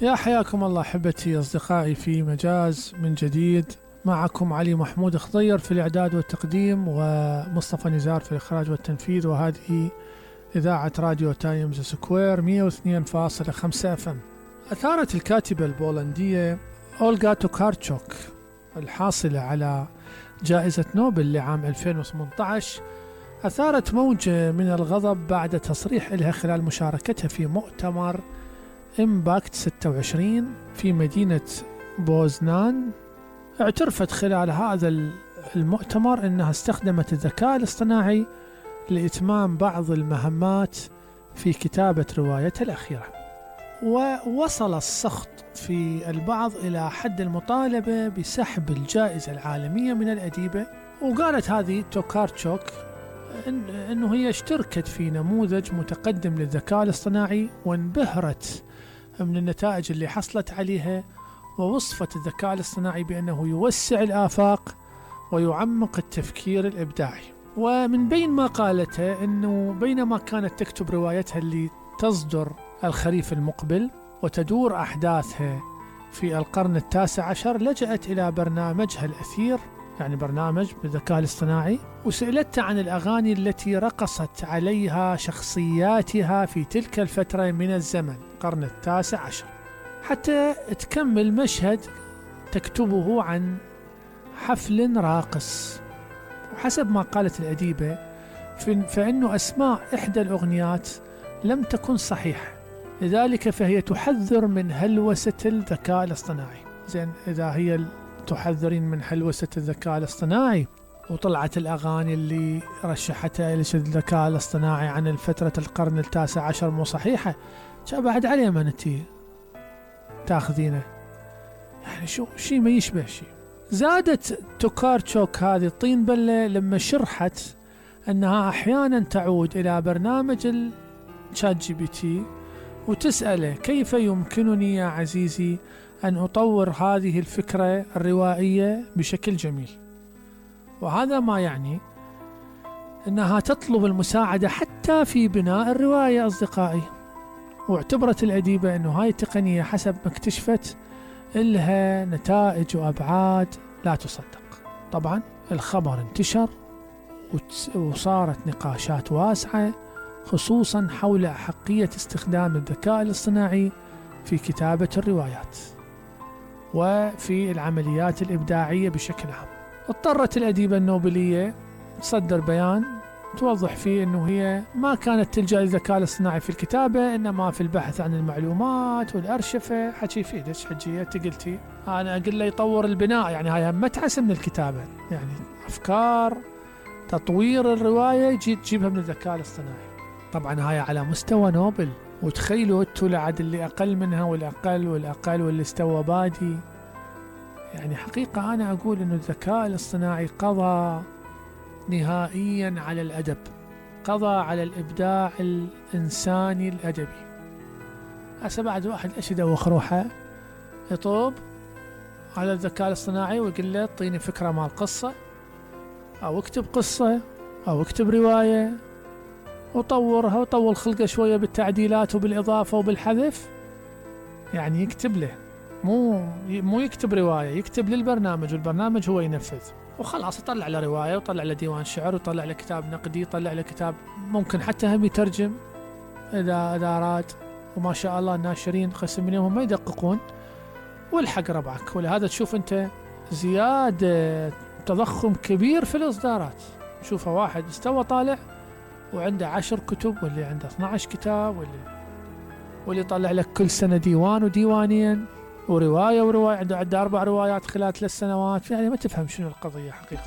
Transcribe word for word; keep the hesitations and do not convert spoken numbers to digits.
يا حياكم الله أحبتي أصدقائي في مجاز من جديد. معكم علي محمود خضير في الإعداد والتقديم، ومصطفى نزار في الإخراج والتنفيذ، وهذه إذاعة راديو تايمز سكوير مئة واثنين فاصلة خمسة اف ام. أثارت الكاتبة البولندية أولغا توكارتشوك الحاصلة على جائزة نوبل لعام ألفين وثمانية عشر أثارت موجة من الغضب بعد تصريح لها خلال مشاركتها في مؤتمر إمباكت ستة وعشرين في مدينة بوزنان. اعترفت خلال هذا المؤتمر أنها استخدمت الذكاء الاصطناعي لإتمام بعض المهمات في كتابة روايتها الأخيرة، ووصل السخط في البعض إلى حد المطالبة بسحب الجائزة العالمية من الأديبة. وقالت هذه توكارتشوك إن أنه هي اشتركت في نموذج متقدم للذكاء الاصطناعي وانبهرت من النتائج اللي حصلت عليها، ووصفت الذكاء الاصطناعي بأنه يوسع الآفاق ويعمق التفكير الإبداعي. ومن بين ما قالته أنه بينما كانت تكتب روايتها اللي تصدر الخريف المقبل وتدور أحداثها في القرن التاسع عشر، لجأت إلى برنامجها الأثير، يعني برنامج بالذكاء الاصطناعي، وسألته عن الأغاني التي رقصت عليها شخصياتها في تلك الفترة من الزمن القرن التاسع عشر، حتى تكمل مشهد تكتبه عن حفل راقص. وحسب ما قالت الأديبة فإنه أسماء إحدى الأغنيات لم تكن صحيحة، لذلك فهي تحذر من هلوسة الذكاء الاصطناعي. زين، إذا هي تحذرين من هلوسة الذكاء الاصطناعي وطلعت الأغاني اللي رشحتها إلى الذكاء الاصطناعي عن الفترة القرن التاسع عشر مو صحيحة، بعد عليه ما نتي تاخذينه، يعني شو شيء ما يشبه شيء. زادت توكارتشوك هذه الطين بلة لما شرحت أنها أحيانا تعود إلى برنامج الشات جي بي تي وتسأله كيف يمكنني يا عزيزي أن أطور هذه الفكرة الروائية بشكل جميل. وهذا ما يعني أنها تطلب المساعدة حتى في بناء الرواية أصدقائي. واعتبرت الأديبة أنه هاي التقنية حسب ما اكتشفت إلها نتائج وأبعاد لا تصدق. طبعا الخبر انتشر وصارت نقاشات واسعة خصوصا حول أحقية استخدام الذكاء الاصطناعي في كتابة الروايات وفي العمليات الإبداعية بشكل عام. اضطرت الأديبة النوبلية تصدر بيان توضح فيه أنه هي ما كانت تلجأ للذكاء الاصطناعي في الكتابة، إنما في البحث عن المعلومات والأرشفة. حكي فيه ليش حجية قلتي أنا أقول له يطور البناء، يعني هاي متعس من الكتابة، يعني أفكار تطوير الرواية تجيبها من الذكاء الاصطناعي. طبعا هاي على مستوى نوبل، وتخيلوا انتوا لعد اللي أقل منها والأقل والأقل واللي استوى بادي. يعني حقيقة أنا أقول إنه الذكاء الاصطناعي قضى نهائيا على الأدب، قضى على الإبداع الإنساني الأدبي. هسه بعد واحد إيش يدوخ روحه يطوب على الذكاء الاصطناعي ويقول له اعطيني فكرة مال قصة أو اكتب قصة أو اكتب رواية وطورها وطول خلقه شوية بالتعديلات وبالإضافة وبالحذف. يعني يكتب له، مو مو يكتب رواية، يكتب للبرنامج والبرنامج هو ينفذ وخلاص. يطلع له رواية ويطلع له ديوان شعر ويطلع له كتاب نقدي، يطلع له كتاب ممكن حتى هم يترجم إذا إذا أراد. وما شاء الله الناشرين قسم منهم ما يدققون والحق ربعك. ولهذا تشوف أنت زيادة تضخم كبير في الإصدارات. شوفه واحد استوى طالع وعنده عشر كتب، واللي عنده اثني عشر كتاب، واللي واللي يطلع لك كل سنة ديوان وديوانين ورواية ورواية، عنده عنده أربع روايات خلال ثلاث سنوات. يعني ما تفهم شنو القضية حقيقة.